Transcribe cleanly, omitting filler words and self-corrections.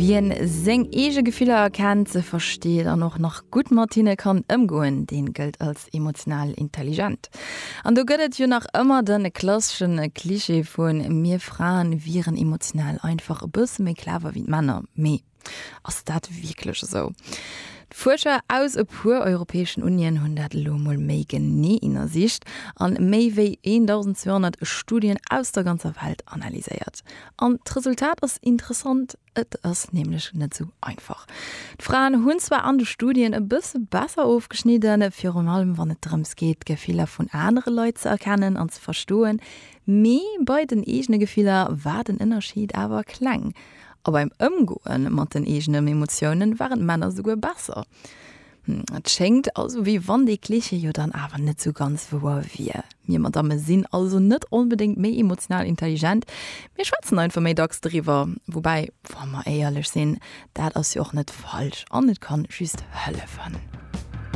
Wien seng eege Gefiller erkennt, se versteet an och nach gutt mat hinne kann ëmgoen, deen gëllt als emotional intelligent. An do gëtt et jo nach ëmmer de klasseschen Klischee vun mir Fraen wieren emotional einfach e bësse méi clever wéi d'Männer. Mee Ass dat wierklech esou? D'Fuerscher aus e puer europäeschen Unien hunn dat elo mol méi genee innersicht an méi wéi 1.200 Studien aus der ganzer Welt analyséiert. An d'Resultat ass interessant, Et ass nämlech net esou einfach. D'Fraen hunn zwar an de Studien e bësse besser ofgeschnidden, virun allem wann et drëms geet, d'Gefiller vun anere Leit ze erkennen an ze verstoen, mee bei den eegene Gefiller war den Ënnerscheed awer kleng. A beim Ëmgoe mat den eegenen Emotiounen waren d'Männer souguer besser. Et schéngt also wéi wann dee Klischee jo dann awer net sou ganz wouer wier. Mir Madamme sinn also net onbedéngt méi emotional intelligent, mir schwätzen einfach méi dacks driwwer. Woubäi, wa mer éierlech sinn, dat ass jo och net falsch an et kann just hëllefen.